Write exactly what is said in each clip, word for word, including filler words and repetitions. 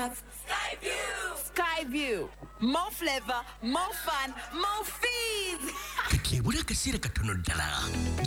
have Skyview. Skyview. More flavor, more fun, more fees. Kati ebula akaseera katono ddala,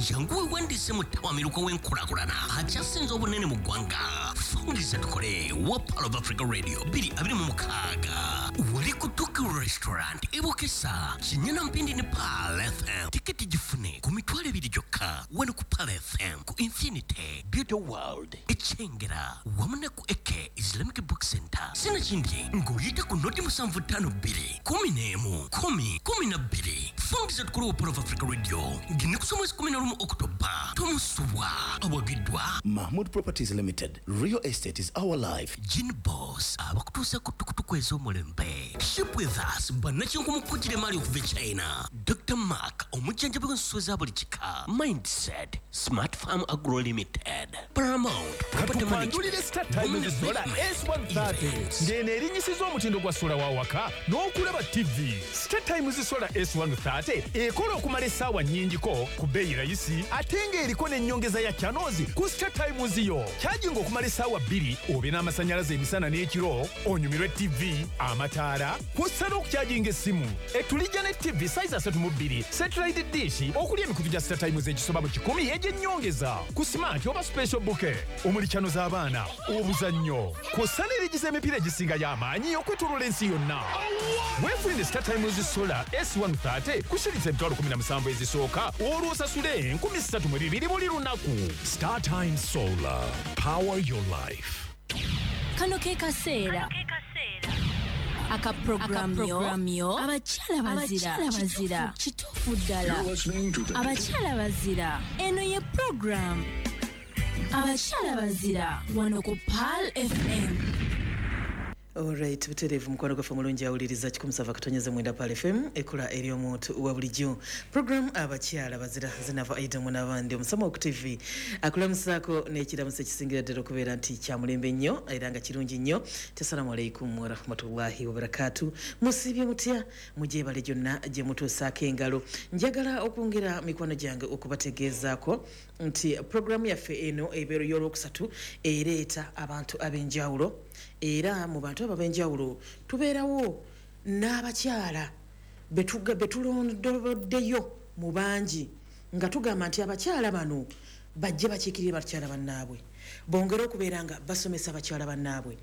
jangu weewandiise mu ttawamiruka w'enkulaakulana akyasinze obunene mu ggwanga, Fungiza Tukole wa Pearl of Africa Radio bbiri abiri mu mukaaga, wali ku Tokyo Restaurant e Bukesa, Kinyana Mpindi ne Pearl F M. Tiketi gifune ku mitwalo ebiri gyokka wano ku Pearl F M, ku Infinity Beauty World e Kyengera, wamu ne ku Eke Islamic Book Center. Sinakindi ng'oyita ku noti musanvu ttaano bbiri kumi n'emu kumi kumi na bbiri. Fungiza Tukole wa Pearl of Africa Radio ng'ennaku z'omwezi kumi na lumu Okutoba. Tomusubwa. Awagiddwa Mahmood Properties Limited. Real estate is our life. Gin Boss, abakutuusa ku tukutuku ez'omulembe. Ship with us, bannakinku emaali okuva e China. Doctor Mark, omujjanjabi w'ensolo za buli kika. Mindset Smart Farm Agro Limited, Paramount Property. Katukwanjulire StarTimes Solar S one thirty, ng'eno erinnyisiza omutindo gwa sola wa waka n'okulaba T V. StarTimes Solar S one thirty ekola okumala essaawa nnyingiko ku bbeeyi rayisi, ate ng'eriko n'ennyongeza ya channels ku StarTimes yo. Kyaginga okumala essaawa bbiri obe n'amasannyalaze emisana n'ekiro, onyumirwe T V, amataala, kw'ossa n'okukyajinga essimu. Etulijja ne T V size asatu mu bbiri, satellite dish, okuli emikutu gya StarTimes egisoba mu kikumi egy'ennyongeza ku smart oba special bouquet, omuli channel z'abaana, obuzannyo, kw'ossa n'erigiza emipiira egisingayo amaanyi okwetooloola ensi yonna. Weefunire StarTimes Solar S one thirty ku shilingi emitwalo kumi na musanvu ezisooka, olwo osasule enkumi ssatu mu bibiri buli lunaku. StarTimes Solar. Power your life. Kano ke kaseera aka programu yo Abakyala Bazira. Bazira kituufu ddala, Abakyala Bazira. Eno ye programu Abakyala Bazira wano ku Pearl F M. Alright, butereevu, mukwano gwaffe omulungi awuliriza kikumi musanvu akatonyeza mwenda Pearl F M, ekola eri omuntu wa bulijjo, program Abakyala Bazira. Zinava Aidamu n'abandi omusama ku T V akulamusaako n'ekiramuso ekisingira ddala okubeera nti kyamulembe nnyo era nga kirungi nnyo. Assalamu alaikum warahmatullahi wabarakatu. Musiibye mutya? Mugyebale gyonna gye mutuusaako engalo. Njagala okwongera, mikwano gyange, okubategeezaako nti programu yaffe eno ebeero y'olwokusatu ereeta abantu ab'enjawulo, era mu bantu abo ab'enjawulo tubeerawo n'abakyala betuga- betulondoboddeyo mu bangi, nga tugamba nti abakyala bano bajje bakiikirire bakyala bannaabwe, bongere okubeera nga basomesa bakyala bannaabwe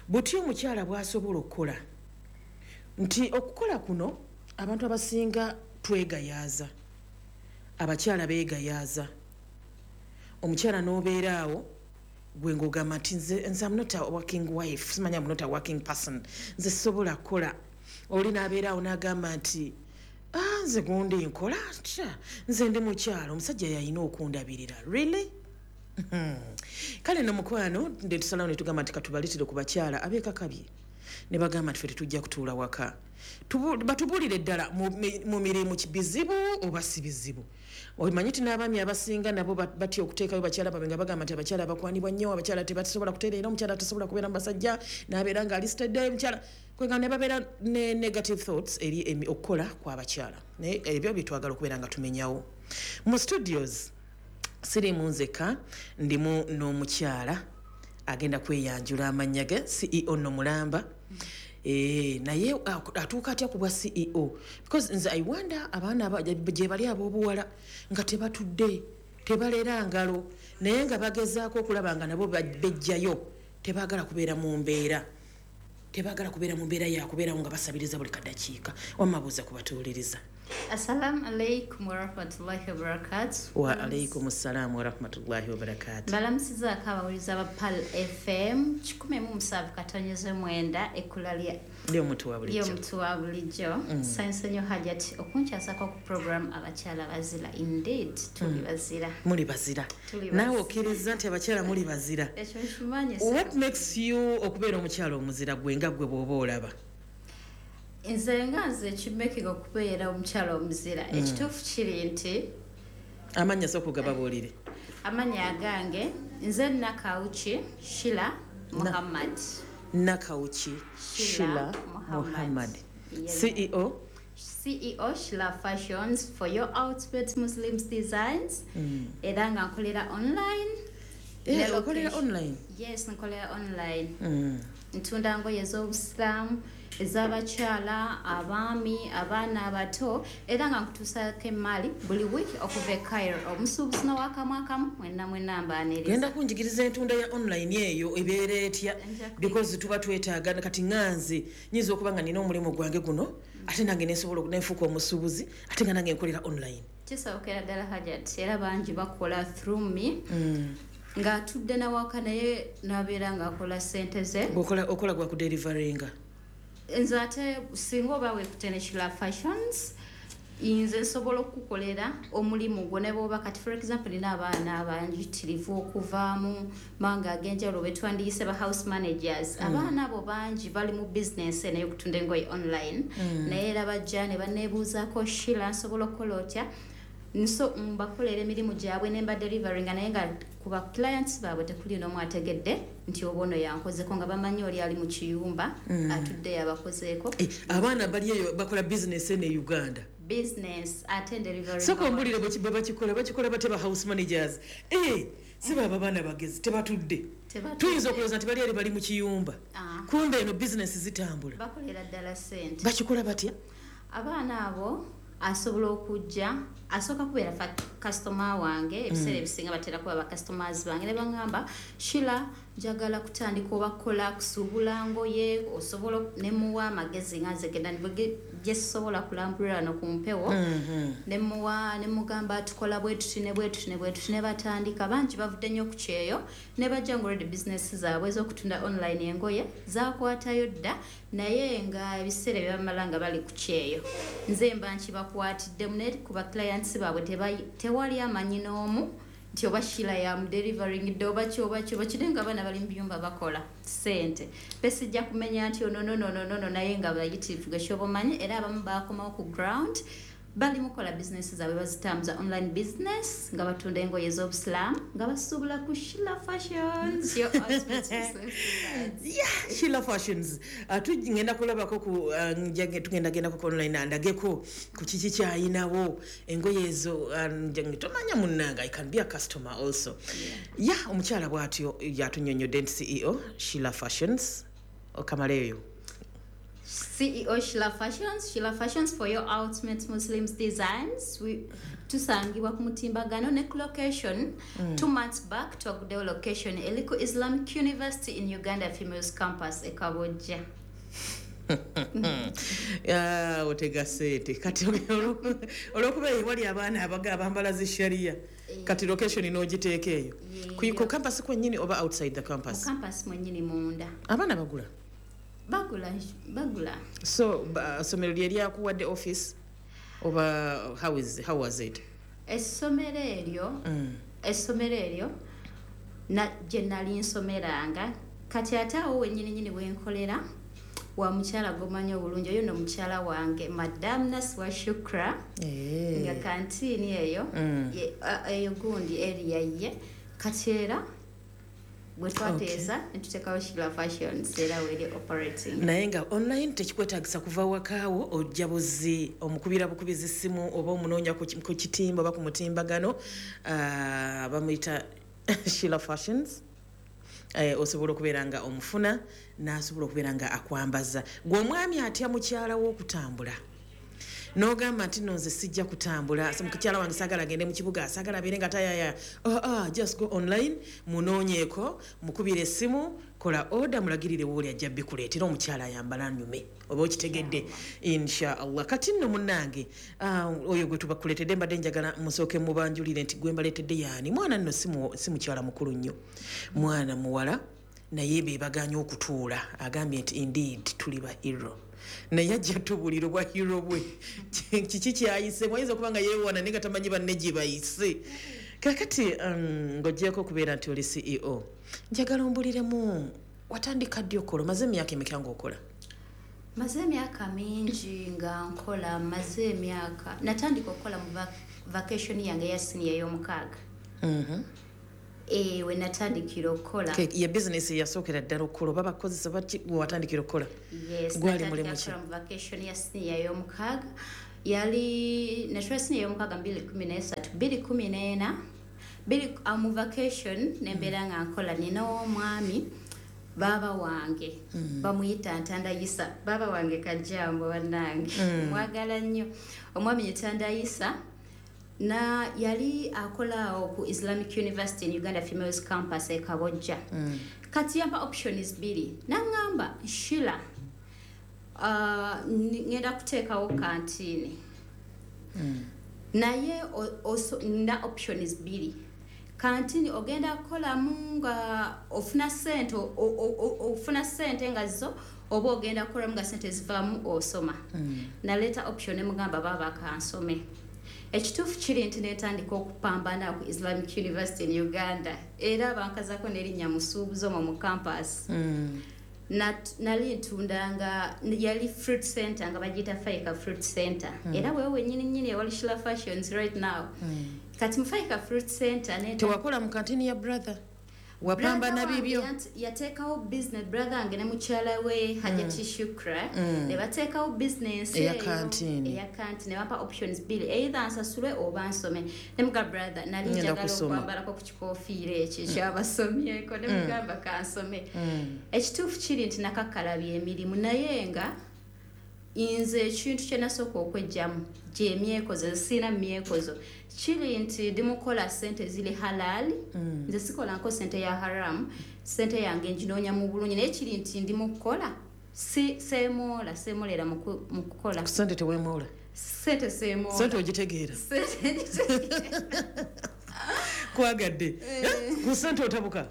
buti omukyala bw'asobola okukola, nti okukola kuno abantu abasinga twegayaaza, abakyala beegayaaza. Omukyala n'obeera awo gwe ng'ogamba nti nze nze am not a working wife, simanya am not a working person, nze sisobola kukola. Oli n'abeera awo n'agamba nti, "Ah, nze gundi nkola tya, nze ndi mukyalo, omusajja yalina okundabirira." Really? Hmm. Kale no mukwano, nde tusalawo ne tugamba nti katubaleetere ku bakyala abeekakabye ne bagamba nti ffe tetujja kutuula waka. Tubu- batubuulire ddala mu mi- mu mirimu bizibu oba si bizibu. Omanyi ti n'abaami abasinga nabo ba- batya okuteekayo bakyala baabwe, nga bagamba nti abakyala bakwanibwa nnyo, abakyala tebasobola kutereera, omukyala tasobola kubeera mu basajja n'abeera nga alisitedde omukyala kwega, ne babeera ne negative thoughts eri emi- okukola kw'abakyala. Naye ebyo byetwagala okubeera nga tumenyawo. Mu studios sirimu nzeka, ndimu n'omukyala agenda kweyanjula amannya ge, C E O nno mulamba. Eh, naye atuuka atya ku bwa C E O? Because nze I wonder, abaana aba- gye bali ab'obuwala nga tebatudde, tebalera ngalo, naye nga bagezaako okulaba nga nabo ba- bejjayo, tebaagala kubeera mu mbeera, tebaagala kubeera mu mbeera yakubeerawo nga basabiriza buli kadakiika. Wamabuuza kubatuwuliriza. Assalamu alaikum warahmatullahi wabarakatu. Wa alaikum ssalaamu warahmatullahi wabarakatu. Mbalamusizaako abawuliza ba Pearl F M kikumi mu musanvu katonyeze mwenda, ekkula lya lyomuntu wa bulijjo. Ly'omuntu wa bulijjo. Nsanyuse nnyo, Hajat, okunkyasako ku program Abakyala Bazira. Indeed, tuli bazira. Muli bazira. Tuli Naawe bazira. okkiriza nti abakyala muli bazira? Ekyo nkimanyi. What makes you okubeera omukyala omuzira, gwe nga gwe bw'oba olaba? Nze nga nze, ekimakinga okubeera omukyala omuzira, ekituufu kiri nti Amannya sooka ogababuulire. Amannya agange nze Nakawuki Shila Muhammad. Nakawuki Shila Shila Muhammad. Muhammad. Yes. C E O. C E O Shila Fashions for your ultimate Muslims designs, era nga nkolera online. Eh, Ne okolera location- online? Yes, nkolera online. Mm. Ntunda ngoye ez'obusiraamu, ez'abakyala, abaami, abaana abato, era nga nkutuusaako emaali buli wiiki okuva e Cairo. Omusuubuzi n'owakamu mwenna mwenna mbaaniriza. Genda kunjigiriza entunda ya online eyo ebeera etya, because tuba twetaaga. Kati ŋŋanze nyinza okuba nga nina omulimu gwange guno, ate nange nensobola nenfuuka omusuubuzi, ate nga nange nkolera online. Kisobokera ddala Hajat, era bangi bakola through me. Ng'atudde nawaka naye n'abeera ng'akola ssente ze. Okola gwa kudeliveringa? Nze ate singa oba weekute ne Shila Fashions, nze nsobola okukukolera omulimu gwo ne bw'oba kati for example nina abaana abanjitirivu okuva mu mawanga ag'enjawulo be twandiyise ba house managers. Abaana abo bangi bali mu business eno ey'okutunda engoye online, naye era bajja ne banneebuuzaako, Shila nsobola okukola otya? Nso mbakolera emirimu gyabwe ne mba deliveringa, naye nga ku ba clients baabwe tekuli n'omu ategedde nti oba ono yankozeko, nga bamanyi oli ali mu kiyumba atudde yabakozeeko. Abaana bali eyo bakola business eno e Uganda. Business ate delivery. Soko mbulire bwe bakikola, bakikola bate ba house managers. Eh, si baba baana bagezi tebatudde. Tuyinza okulowooza nti bali eri bali mu kiyumba. Kumbe eno business zitambula. Bakolera ddala ssente. Bakikola batya? Abaana abo asobola okujja, asooka kubeera customer wange, ebiseera ebisinga batera kuba ba customers bange ne baŋŋamba, Shila njagala kutandika oba kukola kusuubula ngoye, osobola ne muwa amagezi nga nze genda gye sobola kulambulira wano ku mpewo, ne muwa ne mugamba tukola bwe tuti ne bwe tuti ne bwe tuti, ne batandika. Bangi bavudde nnyo ku kyeyo ne bajja nga already business zaabwe ez'okutunda online engoye zaakwatayo dda, naye nga ebiseera bye bamala nga bali ku kyeyo nze mba nkibakwatiddemu, naye ku ba clients baabwe tewali amanyi n'omu nti oba Shila yamudelivering dde oba ki oba ki oba ki, naye nga abaana bali mu byumba bakola ssente. Besijja kumenya nti ono no no no no, naye nga bayitirivu gwe kyoba omanyi. Era abamu baakomawo ku ground bali mukola business zaabwe bazitambuza online business nga batunda engoye ez'obusiraamu nga basuubula ku Shila Fashions. Your ultimate Muslim designs. Yeah, Shila Fashions. Uh, tugenda kulabako ku uh, tugenda genda ku online andageko ku kiki kyayinawo engoye ezo, uh, tomanya munnanga, I can be a customer also. Yeah, yeah, omukyala bw'atyo yatunyonnyodde nti C E O Shila Fashions okamaleyo. C E O Shila Fashions, Shila Fashions for your ultimate Muslims designs. We tusangibwa ku mutimbagano ne ku location. Mm. Two months back twaguddewo location eriko Islamic University in Uganda Females Campus e Kabojja. Ah, otega sente kati olwokuba wali abaana abaga abambala zi sharia, kati location n'ogiteeka eyo ku campus kwennyini oba outside the campus? Ku campus mwennyini munda. Abaana bagula? Bagula, bagula. So essomero lye lyakuwadde office oba how is how was it? Essomero eryo, essomero eryo na gye nali nsomeranga, kati ate awo wennyini nnyini we nkolera wa mukyala gomanyi obulungi, oyo nno mukyala wange Madam Naswa Shukra, nga kantiini eyo eyo gundi area ye, kati era bwe twateesa ne tuteekawo Shila Fashions era weri operating. Naye nga online tekikwetaagisa kuva wakaawo, ojja buzi omukubira bukubizi ssimu oba omunoonya ku kitimba oba ku mutimbagano, bamuyita Shila Fashions. Eh, osobola okubeera nga omufuna n'asobola okubeera nga akwambaza. Gwe omwami atya mukyala w'okutambula n'ogamba nti nno nze sijja kutambula, mukyala wange saagala agende mu kibuga, saagala abeere nga tayaya. Oh, oh, just go online, munoonyeeko, mukubire essimu, kola order, mulagirire wooli ajja bikuleetera omukyala ayambala nyume oba okitegedde inshallah. Kati nno munnange, uh, oyo gwe tubakuleetedde mbadde njagala musooke mubanjulire nti gwe mbaleetedde yaani. Mwana nno si mukyala mukulu nnyo, mwana muwala, naye be bagaanye okutuula. Agambye nti indeed tuli ba hero, naye ajja tubulira obwa hero bwe kiki kyayise. Mwayinza okuba nga yeewaana naye nga tamanyi banne gye bayise. Kakati um, ng'oggyeko okubeera nti oli C E O, njagala ombuliremu watandika ddi okukola? Omaze emyaka emeka ng'okola? Maze emyaka mingi nga nkola, maze emyaka natandika okukola mu vacation yange eya senior ey'omukaaga. Mhm. Eh, we natandikira okukola. Ye business yasookera ddala okukola oba bakozesa baki watandikira okukola? Yes, gwali mulimu ki? Mu vacation ya senior ey'omukaaga yali natula senior ey'omukaaga mbiri kumi n'esatu bbiri kumi n'ena bbiri mu vacation nembeera nga nkola. Nina omwami Baba wange mm. bamuyita Ntanda Isa. Baba wange kajambo bannange mm. mwagala nnyo omwami Ntanda Isa. Na yali akola ku Islamic University in Uganda Females Campus e Kabojja. Mm. Kati yampa options bbiri. Nangamba Sheila, uh, ngenda kuteekawo kantini. Mm. Naye also na options bbiri. Kantini ogenda kukolamu nga ofuna ssente, ofuna ssente nga zo oba ogenda kukolamu nga ssente zivaamu osoma. Mm. Naleeta option emugamba baba kansome. Ekituufu kiri nti netandika okupambana ku Islamic University in Uganda. Era bankazako n'erinnya musuubuzi omwo mu campus. Mm. Nali ntundanga, yali fruit center nga bagiyita Faika Fruit Center. Mm. Era wewe wennyini nnyini ewali Shila Fashions right now. Mm. Kati mu Faika Fruit Center tewakola mu kantini ya brother? Wapambana bibyo? Yateekawo business, brother wange ne mukyala we Hajati mm. Shukra. Mm. Ne bateekawo business eya kantini. Eya kantini ne bampa options bbiri, either nsasule oba nsome. Ne muga brother nali njagala okwambalako ku kikoofiira ekyo ekyabasomyeko, ne mugamba kansome. Mm. Ekituufu kiri nti nakakkalabya emirimu, naye nga nze ekintu kye nasooka okwejjamu gy'emyekozo, sirina myekozo. Kiri nti ndi mukola ssente ziri halali, mm. nze sikolanko ssente ya haramu, ssente yange nginoonya mu bulungi, naye kiri nti ndi mukukola si seemoola, seemolera mu kukola. Ku ssente teweemoola? Ssente seemoola. Ssente ogitegeera? Ssente ngitegeera. Kwagadde. Ku ssente otabuka?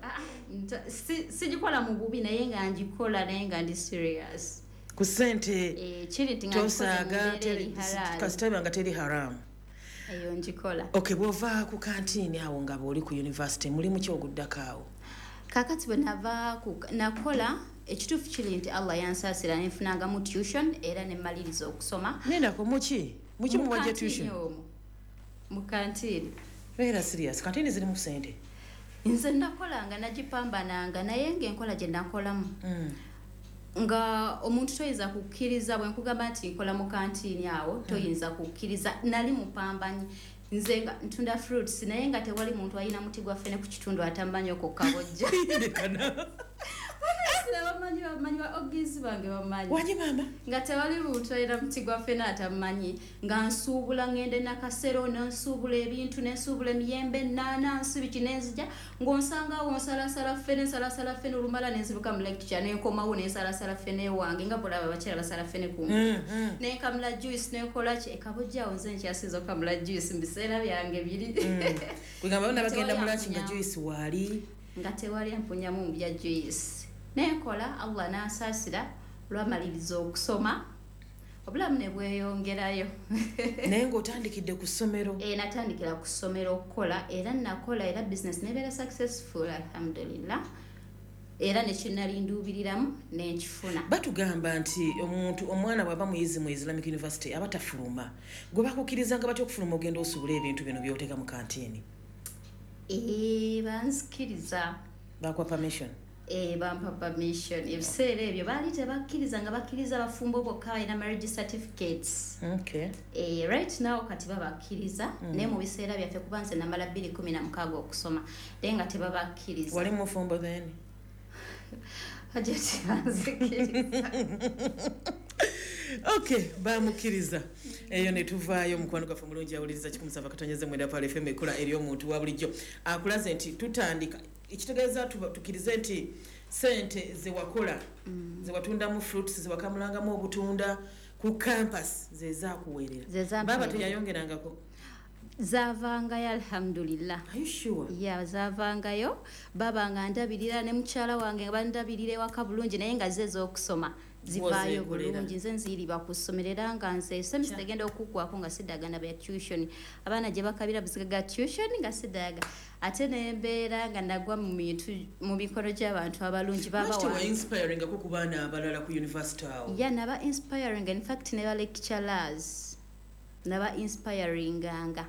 Sigikola mu bubi, naye nga ngikola, naye nga ndi serious. Ku ssente tosaaga, kasita nga teri haramu. Eyo ngikola. Okay, bw'ova ku kantini awo nga bw'oli ku university, mulimu ki oguddako awo? Kaakati bwe nava nakola, ekituufu kiri nti Allah yansaasira ne nfunangamu tuition era ne mmaliriza okusoma. Nendako muki? Muki muwajja tuition? Mu kantini. Beera serious, kantini zirimu ssente? Nze nakolanga nagipambananga, naye ng'enkola gye nakolamu. Mm. Nga omuntu toyinza kukkiriza bwe nkugamba nti nkola mu kantini awo, toyinza kukkiriza. Nali mupambanyi, nze nga ntunda fruits, naye nga tewali muntu alina muti gwa ffene ku kitundu atammanyi okwo Kabojja. Bamanyi, bamanyi ba ogizi bange bamanyi. Wanyi mama? Nga tewali muntu alina muti gwa ffene atammanyi, nga nsuubula ngende Nakasero, nensuubula ebintu, nensuubula emiyembe, ennaanansi, biki nenzija, ng'onsangawo nsalasala ffene, nsalasala ffene olumala nenziruka mu lecture, nenkomawo nensalasala ffene wange, nga bolaba abakyala basala ffene ku mm, mm. Nenkamula juice, nenkola ki, e Kabojja awo nze nkyasinze okukamula juice mu biseera byange biri. Kugamba bonna bagenda mu lunch nga juice waali. Nga tewali ampunyamu mu bya juice. Nenkola, Allah n'ansaasira olwamaliriza okusoma, obulamu ne bweyongerayo. Naye ng'otandikidde ku ssomero? Eh, natandikira ku ssomero okukola, era nakola era business nebeera successful alhamdulillah. Era ne kye nali nduubiriramu ne nkifuna. Batugamba nti omuntu omwana bw'aba muyizi mu Islamic University aba tafuluma. Gwe bakukkirizanga batya okufuluma ogenda osuubula ebintu bino by'oteeka mu kantini? Eh, banzikiriza. Bakuwa permission? Eh, bampa permission. Ebiseera ebyo baali tebakkiriza, nga bakkiriza bafumbo bokka balina marriage certificates. Okay. Eh, right now kati babakkiriza, mm. naye mu biseera byaffe kuba nze namala bbiri kumi na mukaaga okusoma, naye nga tebabakkiriza. Wali mufumbo then? Hajati banzikiriza. Okay, bamukkiriza. Eyo ne tuvaayo mukwano gwaffe omulungi awuliriza kikumi sava katonyeze mwenda Pale F M ekola eri omuntu wa bulijjo. Akulaze nti tutandika ekitegeeza tukkirize nti ssente ze wakola, mm. ze watundamu fruits, ze wakamulangamu obutunda ku campus ze zaakuweerera. Baba teyayongerangako? Zavangayo alhamdulillah. Are you sure? Yeah, zavangayo. Baba nga ndabirira ne mukyala wange bandabirira ewaka bulungi, naye nga ze ez'okusoma zivaayo bulungi. Nze nziriba ku ssomero era nga nze semester egenda okuggwako nga siddagana bya tuition. Abaana gye bakabira buziga tuition nga siddaga. Ate nembeera nga nagwa mu bintu mu mikono gy'abantu abalungi baba wange. Lwaki inspiring ku baana abalala ku university awo? Yeah, naba inspiring, in fact ne ba lecturers naba inspiringanga.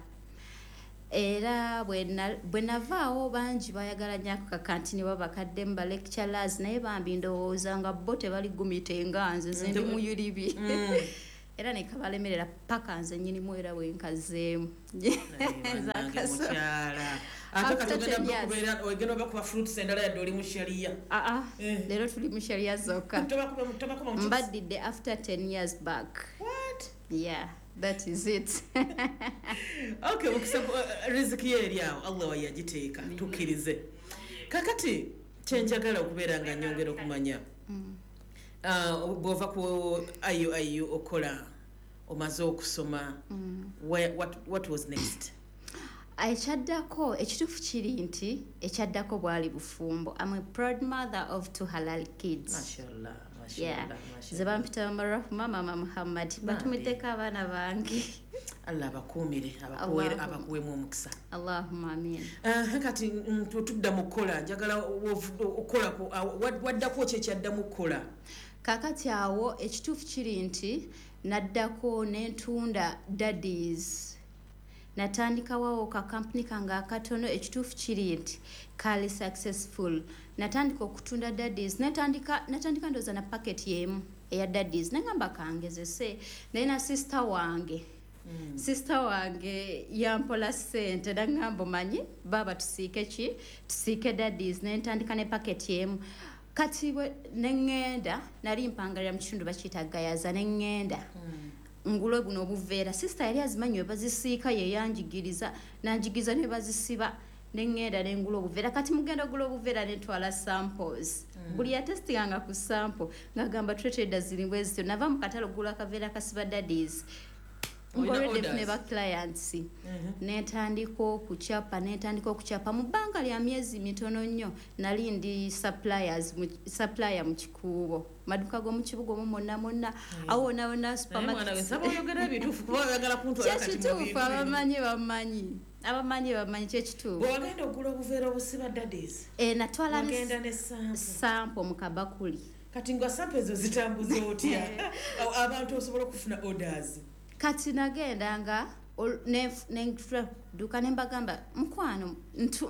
Era bwe navaawo bangi bayagala nnyo ako kakantini babakaddemu ba lecturers, naye bambi ndowooza nga bo tebali gumite nga nze, nze ndi muyulibi. Era ne kabalemerera paka nze nnyinimu era we nkazeemu. Mukyala ate kati ogenda kubeera ogenda obakuba fruits endala yadde oli mu sharia. Aa, leero tuli mu sharia zokka. Mbaddidde after ten years back. What? Yeah, that is it. Okay, mukisa riziki eri awo Allah wayagiteeka tukkirize. Kakati kyenjagala okubeera nga nnyongera okumanya, bw'ova ku I U I U okola, omaze okusoma, what, what was next? Ekyaddako, ekituufu kiri nti ekyaddako bwali bufumbo. I'm a proud mother of two halal kids. Mashallah, Yeah. mashallah. Nze bampita Mama Rahma, Mama Muhammad. Batumiddeko abaana bange. Allah abakuumire, abakuwere, abakuweemu omukisa. Allahumma amin. Kati tudda mu kukola, njagala okukola, waddako ki ekyaddamu okukola? Kaakati awo ekituufu kiri nti naddako n'entunda daddies. Natandikawo ka kampuni kange akatono, ekituufu kiri nti kaali successful. Natandika okutunda daddies, natandika natandika ndowooza na packet y'emu eya daddies, nengamba kangezese naye na sister wange. Mm. Sister wange yampola ssente nangamba omanyi baaba tusiike ki, tusiike daddies, nentandika ne packet y'emu. Kati ne ŋŋenda, nali mpangalira mu kitundu bakiyita Gayaza, ne ŋŋenda. Mm. Ngulo buno obuveera, sister yali azimanyi we bazisiika, ye yanjigiriza, nanjigiriza ne bazisiba, ne ŋŋenda ne ngula obuveera. Kati mugenda ogula obuveera ne ntwala samples. Mm. Buli yatestinganga ku sample ng'agamba tuleetera ziri bwe zityo. Nava mu katale ogula akaveera kasiba daddies. Ngolwedde ne ba clients. Mm -hmm. Netandika okukyapa, netandika okukyapa mu bbanga lya myezi mitono nnyo. Nali ndi suppliers mu, supplier mu Kikuubo. Maduka g'omu kibuga omwo mwonna mwonna. Awo wonna wonna supermarket. Kyekituufu, abamanyi bamanyi. Abamanyi bamanyi kyekituufu. Bw'ogenda ogula obuveera obusiba daddies. Eh, natwala ne sample. Sample mu kabakuli. Kati nga sample ezo zitambuza otya? Abantu osobola okufuna orders. Kati nagenda nga nentuuka ne mbagamba mukwano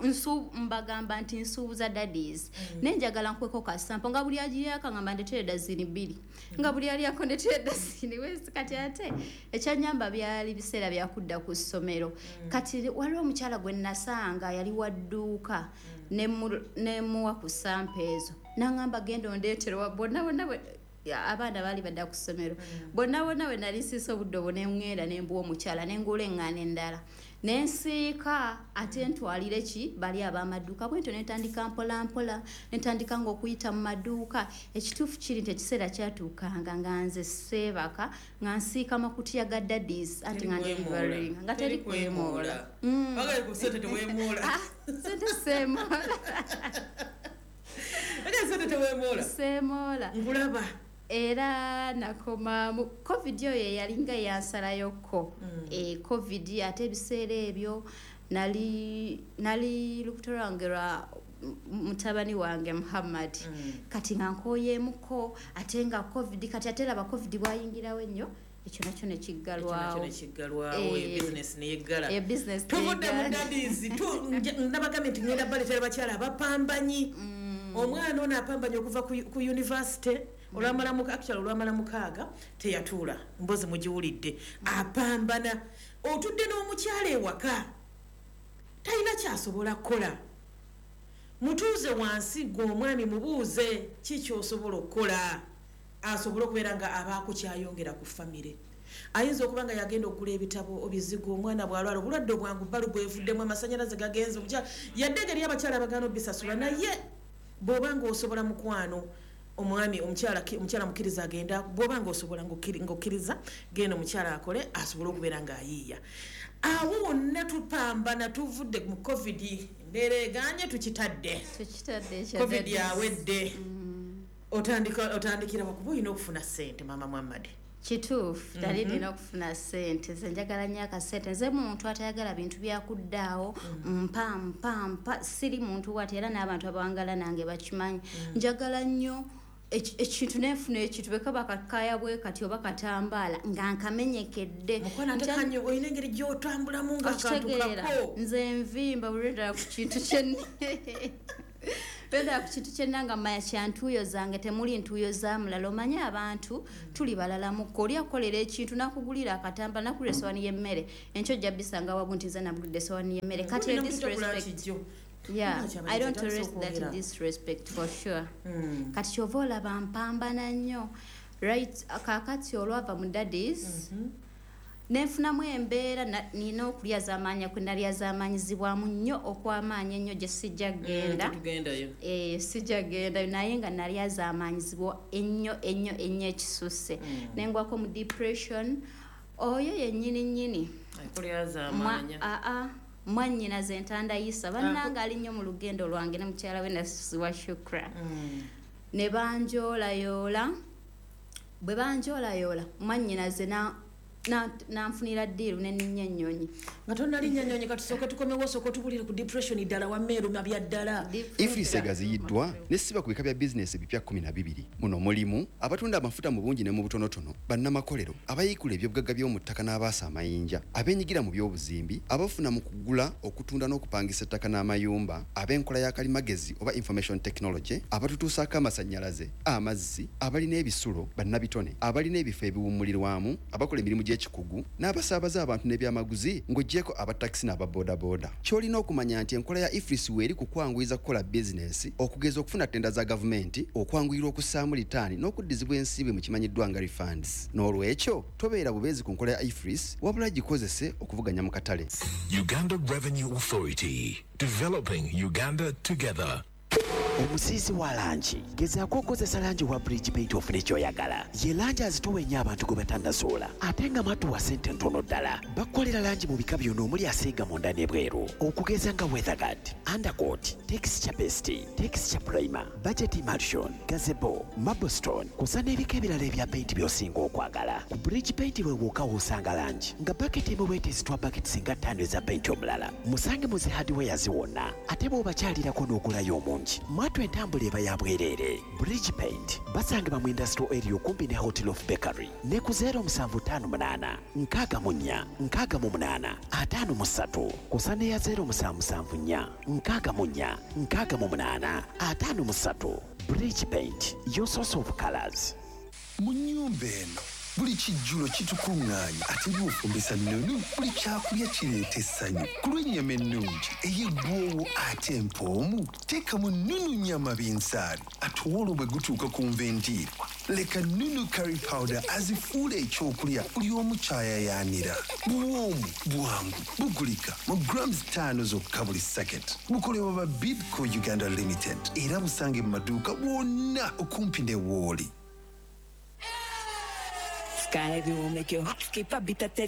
nsu mbagamba nti nsuubuza daddies. Mm. Nenjagala nkweko ka sample nga buli agiyaka ngamba ndetere dazini bbiri. Mm. Nga buli aliyako ndetere dazini wezi. Kati ate ekyanyamba byali biseera byakudda ku ssomero. Mm. Kati waliwo omukyala gwe nasanga yali wa dduuka. Mm. Ne muwa ku sample ezo. Nangamba genda ondeetere wa bonna bonna abaana baali badda ku ssomero. Bonna bonna we nali nsiise obudde obwo ne ŋŋenda ne mbuwa omukyala ne ngula eŋŋaano endala. Ne nsiika ate ntwalire ki bali ab'amaduuka. Bwe ntyo ne ntandika mpola mpola, ne ntandika ng'okuyita mu maduuka. Ekituufu kiri nti ekiseera kyatuukanga nga nze seebaka nga nsiika makutiya ga daddies anti nga ndeliveringa nga teri kwemoola. Bagala ku ssente teweemoola. Ssente seemoola. Bagala ssente teweemoola. Seemoola. Nkulaba. Era nakoma mu COVID oyo yalinga yansalayoko. Mm. E, COVID ate ebiseera ebyo nali nali lubuto lwange lwa mutabani wange Muhammad. Mm. Kati nga nkooyeemuko ate nga COVID, kati ate laba COVID bwayingirawo ennyo, ekyo nakyo ne kiggalwawo. Ekyo nakyo ne kiggalwawo, e business ne yeggala. E business tuvudde mu daddies, nabagambye nti ngenda baleetera bakyala abapambanyi. Mm. Omwana ono apambanye okuva ku, ku university. Olwamala muka actually olwamala mukaaga teyatuula, mbozi mugiwulidde. Apambana otudde n'omukyala ewaka talina kyasobola kukola. Mutuuze wansi gwe omwami mubuuze ki ky'osobola okukola asobole okubeera nga abaako kyayongera ku famire. Ayinza okuba nga yagenda okugula ebitabo obizigo, omwana bw'alwala obulwadde obwangu bbalu bwevuddemu, amasannyalaze gagenze, omukyala yadde engeri y'abakyala abagaana obbisasula, naye bw'oba ng'osobola mukwano omwami omukyala omukyala mukkiriza agenda, bw'oba ng'osobola ng'okkiriza genda omukyala akole asobole okubeera ng'ayiiya. Awo wonna tupambana tuvudde mu COVID, embeera eganye tukitadde. Tukitadde ekya COVID yawedde. Otandika otandikira wakuba olina okufuna ssente Mama Muhammad. Kituufu, nali nina okufuna ssente. Nze njagala nnyo akasente. Nze muntu atayagala bintu byakuddaawo, mpa mpa mpa, siri muntu wati era n'abantu abawangala nange bakimanyi. Njagala nnyo ekintu nenfuna ekintu bwe kaba kakaya bwe kati oba katambaala nga nkamenyekedde. Mukwano ate kanyo olina engeri gy'otambulamu nga akantu kako. Nze nvimba buli lwe ndaba ku kintu kye Bwendaba ku kintu kyenna nga mmanya kya ntuuyo zange, temuli ntuuyo za mulala. Omanye abantu tuli balalamuko, oli akukolera ekintu n'akugulira akatamba, n'akugulira essowaani y'emmere, enkyo ojja bisanga wagu nti nze nagulidde essowaani y'emmere. Kati Olina omuntu ogula disrespect. Kijjo. Yeah, Lwaki I don't abalenzi tolerate that okwogera? disrespect for sure. Kati kyova olaba mpambana nnyo. Right, kaakati olwava mu Daddies, nenfunamu embeera, na- nina okulya z'amaanyi kwe nalya z'amaanyizibwamu nnyo okw'amaanyi ennyo gye sijja genda. Tugendayo. Eh, sijja gendayo, naye nga nali azaamaanyizibwa ennyo ennyo ennyo ekisusse, nengwako mu depression. Oyo yennyini nnyini akolera Mwa- z'amaanya. aa, mwannyinaze entandayisa bannanga ali nnyo mu lugendo lwange ne mukyala we Nasiwa Shukra, ne banjoolayoola. Bwe banjoolayoola, mwannyinaze na- na- nanfunira deal nenninnya ennyonyi. Nga tonnalinnya nnyonyi, katusooke tukomewo, osooke otubulire ku depression ddala wammeeruma bya ddala. EFRIS egaziyiddwa nesiba ku bika bya bizinesi ebipya kkumi na bibiri. Muno mulimu abatunda amafuta mu bungi ne mu butonotono, bannamakolero, abayiikula ebyobugagga by'omu ttaka n'abaasa amayinja, abeenyigira mu by'obuzimbi, abafuna mu kugula, okutunda n'okupangisa ettaka n'amayumba, ab'enkola ya kalimagezi oba information technology, abatutuusaako amasannyalaze, amazzi, abalina ebisulo, bannabitone, abalina ebifo ebiwummulirwamu, abakola emirimu gy'ekikugu n'abasaabaza abantu n'ebyamaguzi, ng'oggyeko abatakisi n'ababoodabooda. Ky'olina okumanya nti enkola ya EFRIS weeri ku kwanguyiza kukola bizinesi, okugeza okufuna tenda za gavumenti, okwanguyirwa okussaamu litaani n'okuddizibwa ensimbi mu kimanyiddwa nga refunds. N'olwekyo tobeera bubeezi ku nkola ya EFRIS, wabula gikozese okuvuganya mu katale. Uganda Revenue Authority. Developing Uganda together. Omusiisi wa langi, gezaako okukozesa langi wa Bridge Paint ofune ky'oyagala. Ye langi azitowa ennyo abantu gwe batannasoola, ate nga matuwa ssente ntono ddala. Bakukolera langi mu bika byonna omuli asiiga munda n'ebweru, okugeza nga weatherguard, undercoat, texture paste, texture primer, budget emulsion, gazebo, marblestone, kusa n'ebika ebirala ebya paint by'osinga okwagala. Ku Bridge Paint weewuuka w'osanga langi nga baketi emu bwetezitwa baketi singa ttaano eza paint omulala. Musange mu zi hardwares wonna, ate bw'obakyalirako n'ogulayo omungi, mwatu entambula eba ya bwereere. Bridge Paint basangibwa mu industrial area okumpi ne Hotel of Bakery ne ku zero musanvu ttaano munaana nkaaga mu nnya nkaaga mu munaana ataano mu ssatu, kusa n'eya zero musanvu musanvu nnya nkaaga mu nnya nkaaga mu munaana ataano mu ssatu. Bridge Paint, your source of colors. Mu nnyumba eno buli kijjulo kitukuŋŋaanya, ate bw'ofumbisa nnunu buli kyakulya kireeta essanyu. Ku lw'ennyama ennungi ey'eggwowo ate empoomu, teekamu Nunu nyama binsaali. Ate olwo bwe gutuuka ku nva endiirwa, leka Nunu curry powder azifuula ekyokulya buli omu kyayayaanira. Buwoomu, bwangu, bugulika mu grams ttaano zokka buli sacket. Bukolebwa ba Bidco Uganda Limited era busange mu maduuka wonna okumpi ne wooli. Sky View will make your heart skip a beat at the